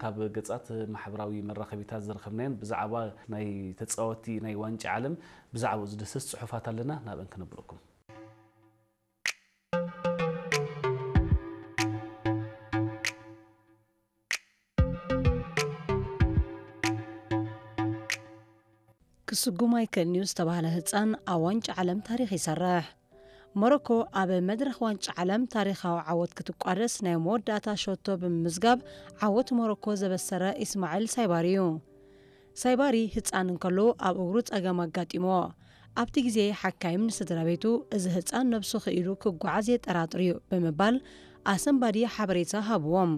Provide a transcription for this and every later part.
ካብ ገጻት ማሕበራዊ መራኸቢታት ዝረኸብናየን ብዛዕባ ናይ ተጻወቲ ናይ ዋንጫ ዓለም ብዛዕባኡ ዝድህስስ ጽሑፋት ኣለና፣ ናብአን ክነብረኩም። ክስጉም ኣይክእልን እዩ ዝተባህለ ህጻን ኣብ ዋንጫ ዓለም ታሪኽ ይሰርሕ። ሞሮኮ ኣብ መድረኽ ዋንጫ ዓለም ታሪኻዊ ዓወት ክትቋደስ ናይ መወዳእታ ሸቶ ብምምዝጋብ ዓወት ሞሮኮ ዘበሰረ ኢስማዒል ሳይባሪ እዩ። ሳይባሪ ህጻን እንከሎ ኣብ እግሩ ጸገም ኣጋጢምዎ። ኣብቲ ግዜ ሓካይም ንስድራ ቤቱ እዚ ህጻን ነብሱ ክኢሉ ክጓዓዝ የጠራጥር እዩ ብምባል ኣሰንባዲ ሓበሬታ ሃብዎም።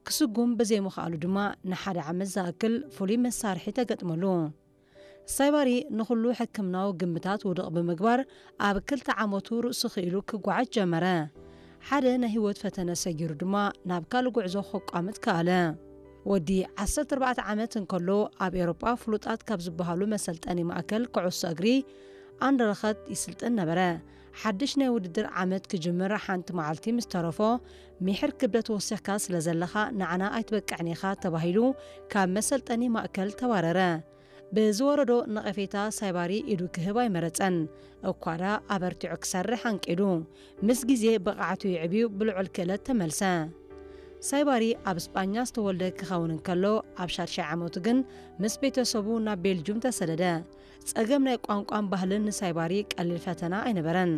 ክስጉም ብዘይምኽኣሉ ድማ ንሓደ ዓመት ዝኣክል ፍሉይ መሳርሒ ተገጥመሉ። ሳይባሪ ንኹሉ ሕክምናዊ ግምታት ውድቕ ብምግባር ኣብ ክልተ ዓመቱ ርእሱ ክኢሉ ክጓዓዝ ጀመረ። ሓደ ናይ ህይወት ፈተነ ሰጊሩ ድማ ናብ ካልእ ጉዕዞ ከቋምት ከኣለ። ወዲ ዓሰርተ ኣርባዕተ ዓመት እንከሎ ኣብ ኤውሮጳ ፍሉጣት ካብ ዝበሃሉ መሰልጠኒ ማእከል ኩዕሶ እግሪ ኣንደረኸት ይስልጥን ነበረ። ሓድሽ ናይ ውድድር ዓመት ክጅምር ሓንቲ መዓልቲ ምስ ተረፎ፣ ሚሕር ክብደት ወሲኽካ ስለ ዘለኻ ንዓና ኣይትበቅዕን ኢኻ ተባሂሉ ካብ መሰልጠኒ ማእከል ተባረረ። ብዝወረዶ ነቐፌታ ሳይባሪ ኢዱ ክህብ ኣይመረጸን። እኳ ደኣ ኣበርቲዑ ክሰርሕ ኣንቂዱ። ምስ ግዜ ብቕዓቱ ይዕብዩ ብልዑል ክእለት ተመልሰ። ሳይባሪ ኣብ ስጳኛ ዝተወልደ ክኸውን እንከሎ ኣብ ሻድሻይ ዓመቱ ግን ምስ ቤተሰቡ ናብ ቤልጁም ተሰደደ። ጸገም ናይ ቋንቋን ባህልን ንሳይባሪ ቀሊል ፈተና ኣይነበረን።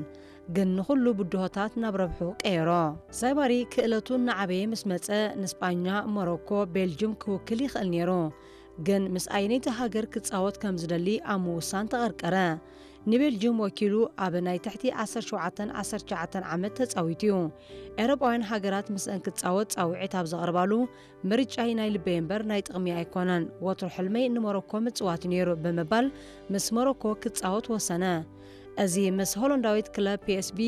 ግን ንኹሉ ብድሆታት ናብ ረብሑ ቀየሮ። ሳይባሪ ክእለቱ እናዓበየ ምስ መጸ ንስጳኛ፣ ሞሮኮ፣ ቤልጁም ክውክል ይኽእል ነይሩ። ግን ምስ ኣየነይቲ ሃገር ክጻወት ከም ዝደሊ ኣብ ምውሳን ተቐርቀረ። ንቤልጅም ወኪሉ ኣብ ናይ ትሕቲ ዓሰርተ ሸውዓተን ዓሰርተ ትሽዓተን ዓመት ተጻዊቱ እዩ። ኤውሮጳውያን ሃገራት ምስአን ክጻወት ጻውዒት ኣብ ዘቕርባሉ ምርጫይ ናይ ልበይ እምበር ናይ ጥቕሚ ኣይኮነን፣ ወትሩ ሕልመይ ንሞሮኮ ምጽዋት እዩ ነይሩ ብምባል ምስ ሞሮኮ ክጻወት ወሰነ። እዚ ምስ ሆሎንዳዊት ክለብ ፒኤስቢ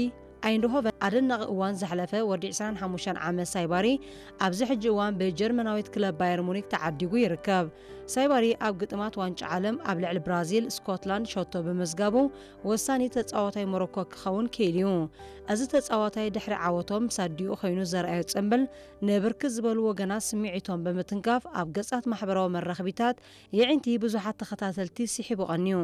ኣይንድሆቨን ኣደናቒ እዋን ዘሕለፈ ወዲ ዕስራን ሓሙሽተን ዓመት ሳይባሪ ኣብዚ ሕጂ እዋን ብጀርመናዊት ክለብ ባየር ሙኒክ ተዓዲጉ ይርከብ። ሳይባሪ ኣብ ግጥማት ዋንጫ ዓለም ኣብ ልዕሊ ብራዚል፣ ስኮትላንድ ሸቶ ብምዝጋቡ ወሳኒ ተጻዋታይ ሞሮኮ ክኸውን ክኢሉ እዩ። እዚ ተጻዋታይ ድሕሪ ዓወቶም ምስ ኣዲኡ ኮይኑ ዘርኣዮ ጽምብል ንብርክት ዝበሉ ወገናት ስምዒቶም ብምትንካፍ ኣብ ገጻት ማሕበራዊ መራኸቢታት የዒንቲ ብዙሓት ተኸታተልቲ ስሒቡ ቀንዩ።